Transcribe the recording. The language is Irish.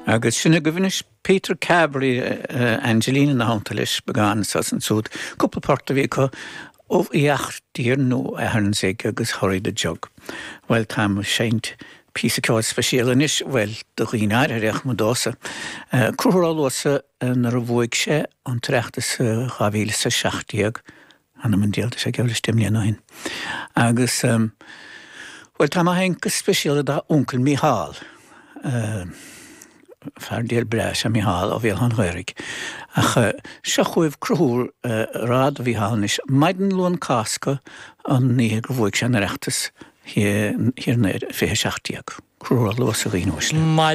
Agus sin agaibh anois Peter Carberry, Angelina ina theannta leis, beagán anso is ansúd. Cúpla port a bhí acu, Ubh Fhiach Dear nó Ahernzig agus Hurry the Jug. Bhuel, táim ag seinnt píosa ceoil speisialta anois, bhuel, do dhaoine áirithe ach ní domhsa. Conchúr Ó Luasa nuair a bhuaigh sé an tOireachtas i 2017, Th'anam 'on diabhal, tá sé geall leis 10 mbliana ó shin. Agus, bhuel, tá mé á sheinnt go speisialta dá uncail Mícheál. Fear diail breá is ea Mícheál ó Bhéal Átha an Ghaorthaidh. Ach seo chugaibh Conchúr ag rá do Mhícheál anois, maidin Luan Cásca an oíche gur bhuaigh sé an Oireachtas thiar in 2017. Conchúr Ó Luasa a dhaoine uaisle.